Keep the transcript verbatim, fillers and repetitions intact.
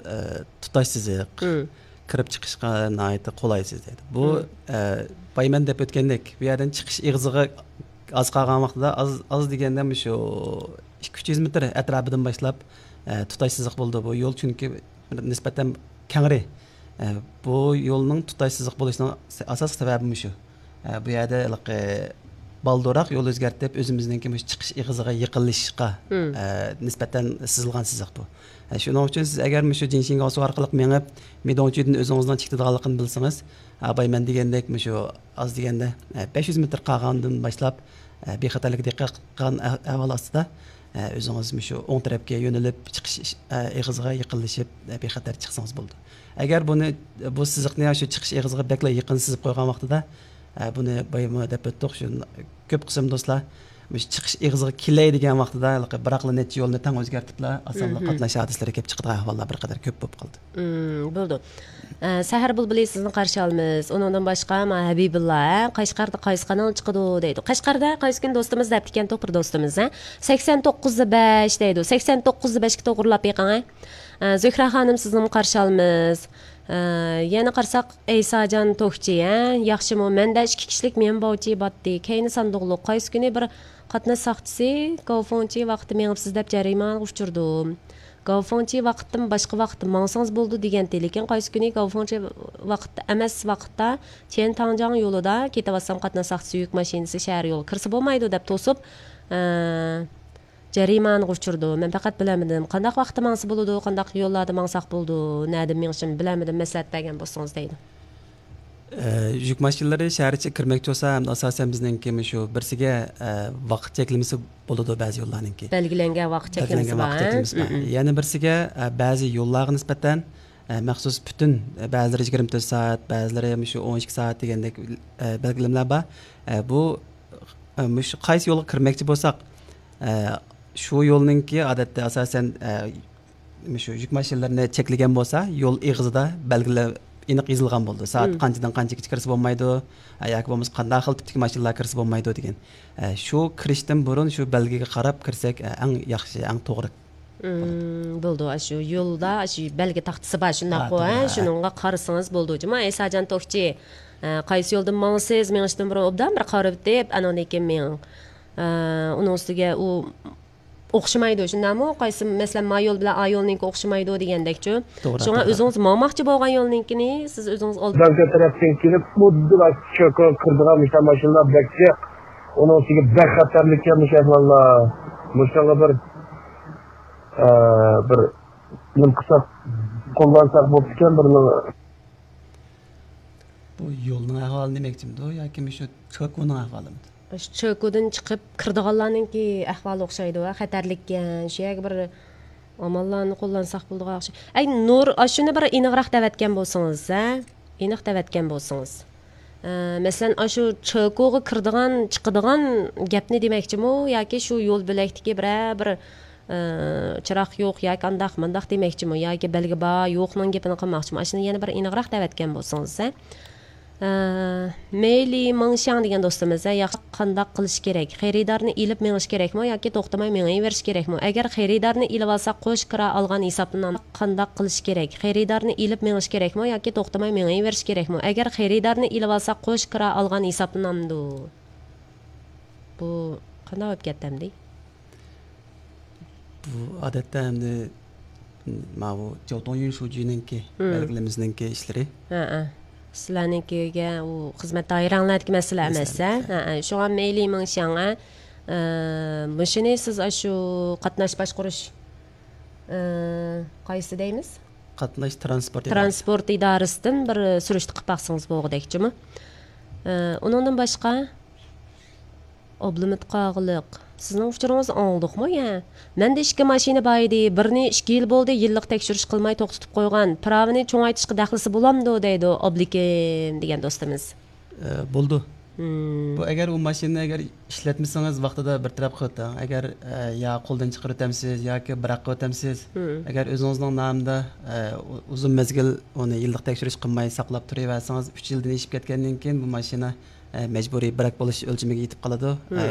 ئە، تۇتاش سىزىق، كىرىپ چىقىشقا ناھايىتى قولايسىز دەيدۇ. بۇ، ئە، بايمەن دەپ ئۆتكەندەك، بۇ يەردىن چىقىش ئېغىزىغا ئاز قالغان ۋاقتىدا، ئاز، ئاز دېگەندە مۇشۇ ئىككى يۈز مېتىر ئەتراپىدىن باشلاپ، ئە، تۇتاش سىزىق بولىدۇ. بۇ يول چۈنكى نىسبەتەن كەڭرى. ئە، بۇ يولنىڭ تۇتاش سىزىق بولۇشىنىڭ س-، ئاساسلىق سەۋەبى مۇشۇ. ئە، بۇ يەردە ھېلىقى بالدۇرراق يول ئۆزگەرتىپ، ئۆزىمىزنىڭكى مۇشۇ چىقىش ئېغىزىغا يېقىنلىشىشقا، ئە، نىسبەتەن سىزىلغان سىزىق بۇ. ئە، شۇنىڭ ئۈچۈن سىز ئەگەر مۇشۇ جىنشىڭگاۋسۇ ئارقىلىق مېڭىپ، مىدوڭچۈدىن ئۆزىڭىزنىڭ چىقىدىغانلىقىنى بىلسىڭىز، ئە، بايمەن دېگەندەك مۇشۇ ئاز دېگەندە، ئە، بەش يۈز مېتىر قالغاندىن باشلاپ، ئە، بىخەتەرلىككە دىققەت قىلغان ئە-، ئەھۋال ئاستىدا، ئە، ئۆزىڭىز مۇشۇ ئوڭ تەرەپكە يۆنىلىپ، چىقىش ئىش-، ئە، ئېغىزىغا يېقىنلىشىپ، ئە، بىخەتەر چىقسىڭىز بولىدۇ. ئەگەر بۇنى، بۇ سىزىقنى شۇ چىقىش ئېغىزىغا بەكلا يېقىن سىزىپ قويغان ۋاقتىدا، ئە، بۇنى بايىمۇ دەپ ئۆتتۇق، شۇ كۆپ قىسىم دوستلار مۇشۇ چىقىش ئېغىزىغا كېلەي دېگەن ۋاقتىدا ھېلىقى بىراقلا نەچچە يولنى تەڭ ئۆزگەرتىپلا، ئاسانلا قاتناش ھادىسىلىرى كېلىپ چىقىدىغان ئەھۋاللار بىر قەدەر كۆپ بولۇپ قالدى. مم، بولىدۇ. ئە، سەھەر بۇلبۇلى سىزنى قارشى ئالىمىز. ئۇنىڭدىن باشقا، ما، ھەبىبۇللا، ھە، قەشقەردە قايسى قانال چىقىدۇ دەيدۇ. قەشقەردە قايسى كۈنى دوستىمىز دەپتىكەن، توپىر دوستىمىز، ھە. سەكسەن توققۇز بەش دەيدۇ. سەكسەن توققۇز بەشكە توغرىلاپ بېقىڭ، ھە. ئە، زۆھرە خانىم، سىزنىمۇ قارشى ئالىمىز. ئە، يەنە قارىساق، ئەيساجان توكچى، ھە، ياخشىمۇ؟ مەندە ئىككى كىشىلىك مېڭە باۋچى باتتى. كەينى ساندۇقلۇق. قايسى كۈنى بىر قاتناش ساقچىسى گاۋفېڭچى ۋاقىتتا مېڭىپسىز دەپ جەرىمانىغا ئۇچرىدىم. گاۋفېڭچى ۋاقىتتىن باشقا ۋاقىتتا ماڭسىڭىز بولىدۇ دېگەنتى. لېكىن قايسى كۈنى گاۋفېڭچى ۋاقىتتا ئەمەس ۋاقىتتا چيەنتاڭجياڭ يولىدا كېتىۋاتسام، قاتناش ساقچىسى يۈك ماشىنىسى شەھەر يولىغا كىرسە بولمايدۇ دەپ توسۇپ، ئە، جەرىمانىغا ئۇچرىدۇ. مەن پەقەت بىلەلمىدىم، قانداق ۋاقىتتا ماڭسا بولىدۇ، قانداق يوللاردا ماڭساق بولىدۇ، نەدىن مېڭىشىمنى بىلەلمىدىم، مەسلىھەت بەرگەن بولسىڭىز دەيدۇ. ئە، يۈك ماشىنىلىرى شەھەر ئىچىگە كىرمەكچى بولسا، ھەمدە ئاساسەن بىزنىڭكى مۇشۇ بىرسىگە، ئە، ۋاقىت چەكلىمىسى بولىدۇ بەزى يوللارنىڭكى. بەلگىلەنگەن ۋاقىت چەكلىمىسى بار، ھە؟ بەلگىلەنگەن ۋاقىت چەكلىمىسى بار. مم. يەنە بىرسىگە، ئە، بەزى يوللارغا نىسبەتەن، ئە، مەخسۇس پۈتۈن، ئە، بەزىلىرى يىگىرمە تۆت سائەت، بەزىلىرى مۇشۇ ئون ئىككى سائەت دېگەندەك، ئە، بەلگىلىمىلەر بار. ئە، بۇ، ئە، مۇشۇ قايسى يولغا كىرمەكچى بولساق، ئە، شۇ يولنىڭكى ئادەتتە ئاساسەن، ئە، مۇشۇ يۈك ماشىنىلىرىنى چەكلىگەن بولسا، يول ئېغىزىدا بەلگىلەر ئېنىق يېزىلغان بولىدۇ. سائەت قانچىدىن قانچىگىچە كىرسە بولمايدۇ، ئە، ياكى بولمىسا قانداق خىل تىپتىكى ماشىنىلار كىرسە بولمايدۇ دېگەن. ئە، شۇ كىرىشتىن بۇرۇن شۇ بەلگىگە قاراپ كىرسەك، ئە، ئەڭ ياخشى، ئەڭ توغرا. مم، بولىدۇ. ئاشۇ يولدا، ئاشۇ بەلگە تاختىسى بار، شۇنداققۇ، ھە؟ شۇنىڭغا قارىسىڭىز بولىدۇ. جۇما ئەيساجان توكچى، ئە، قايسى يولدىن ماڭىسىز، مېڭىشتىن بۇرۇن ئوبدان بىر قارىۋېتىپ، ئانىڭدىن كېيىن مېڭىڭ. ئە، ئۇنىڭ ئۈستىگە ئۇ ئوخشىمايدۇ، شۇنداقمۇ؟ قايسى، مەسىلەن، ما يول بىلەن ئا يولنىڭكى ئوخشىمايدۇ دېگەندەكچۇ. شۇڭا ئۆزىڭىز ماڭماقچى بولغان يولنىڭكىنى سىز ئۆزىڭىز ئالدىن دەڭگە تەرەپتىن كېلىپ، خۇددى چۆكۈپ كىرىدىغان مۇشۇ ماشىنىلار بەك جىق. ئۇنىڭ ئۈستىگە بەك خەتەرلىككەن مۇشۇ ئەھۋاللار. مۇشۇنىڭغا بىر، ئە، بىر نېمە قىلساق، قوللانساق بوپتىكەن بىر نېمە. بۇ يولنىڭ ئەھۋالى دېمەكچىمىدۇ ياكى مۇشۇ چۆكۈنىڭ ئەھۋالىمىدۇ؟ شۇ چۆكۈدىن چىقىپ كىرىدىغانلارنىڭكى ئەھۋالى ئوخشايدۇ، خەتەرلىككەن. شۇ يەرگە بىر ئاماللارنى قوللانساق بولىدىغان ئوخشايدۇ. ئەي، نۇر، ئاشۇنى بىر ئېنىقراق دەۋەتكەن بولسىڭىز، ھە؟ ئېنىق دەۋەتكەن بولسىڭىز. ئە، مەسىلەن، ئاشۇ چۆكۈغا كىرىدىغان، چىقىدىغان گەپنى دېمەكچىمۇ ياكى شۇ يول بۆلەكتىكى بىرەر بىر ئى، چىراغ يوق ياكى ئانداق مانداق دېمەكچىمۇ ياكى بەلگە بار يوقنىڭ گېپىنى قىلماقچىمۇ؟ ئاشۇنى يەنە بىر ئېنىقراق دەۋەتكەن بولسىڭىز، ھە؟ ئى، مېيلى مېڭشياڭ دېگەن دوستىمىز، ھە، ياخشى، قانداق قىلىش كېرەك؟ خېرىدارنى ئېلىپ مېڭىش كېرەكمۇ ياكى توختىماي مېڭىۋېرىش كېرەكمۇ؟ ئەگەر خېرىدارنى ئېلىۋالساق قوش كىرا ئالغان ھېسابلىنامدۇ؟ قانداق قىلىش كېرەك؟ خېرىدارنى ئېلىپ مېڭىش كېرەكمۇ ياكى توختىماي مېڭىۋېرىش كېرەكمۇ؟ ئەگەر خېرىدارنى ئېلىۋالساق قوش كىرا ئالغان ھېسابلىنامدۇ؟ بۇ قانداق بولۇپ كەتتى ئەمدى؟ بۇ ئادەتتە ئەمدى ماۋۇ جياۋتۇڭيۈن شۇجىنىڭكى، بەلگىلىمىزنىڭكى ئىشلىرى. ھەئە. سىلەرنىڭكىگە ئۇ خىزمەت دائىرەڭلەردىكى مەسىلە ئەمەس، ھە؟ ھەئە. شۇڭا مېيلى مېڭشياڭ، ھە؟ ئە، مۇشۇنى سىز ئاشۇ قاتناش باشقۇرۇش، ئە، قايسى دەيمىز؟ قاتناش ترانسپورت ئىدارىسى. ترانسپورت ئىدارىسىدىن بىر سۈرۈشتە قىلىپ باقسىڭىز بولغۇدەك جۇمۇ. ئە، ئۇنىڭدىن باشقا، ئابلىمىت قاغىلىق، سىزنىڭ ئۇچۇرىڭىزنى ئاڭلىدۇقمۇ يا؟ مەندە ئىككى ماشىنا بار ئىدى، بىرنى ئىككى يىل بولدى، يىللىق تەكشۈرۈش قىلماي توختىتىپ قويغان، پىراۋىنى چوڭايتىشقا دەخلىسى بولامدۇ دەيدۇ ئابلىكىم دېگەن دوستىمىز. ئە، بولىدۇ. مم. بۇ ئەگەر ئۇ ماشىنىنى ئەگەر ئىشلەتمىسىڭىز ۋاقتىدا بىر تەرەپ قىلىۋېتىڭ. ئەگەر، ئە، يا قولدىن چىقىرىۋېتەمسىز ياكى بىراق قىلىۋېتەمسىز. مم. ئەگەر ئۆزىڭىزنىڭ نامىدا، ئە، ئۇ-، ئۇزۇن مەزگىل ئۇنى يىللىق تەكشۈرۈش قىلماي ساقلاپ تۇرۇۋەرسىڭىز، ئۈچ يىلدىن ئېشىپ كەتكەندىن كېيىن بۇ ماشىنا ئە، مەجبۇرىي بىراك بولۇش ئۆلچىمىگە يېتىپ قالىدۇ. مم. ئە،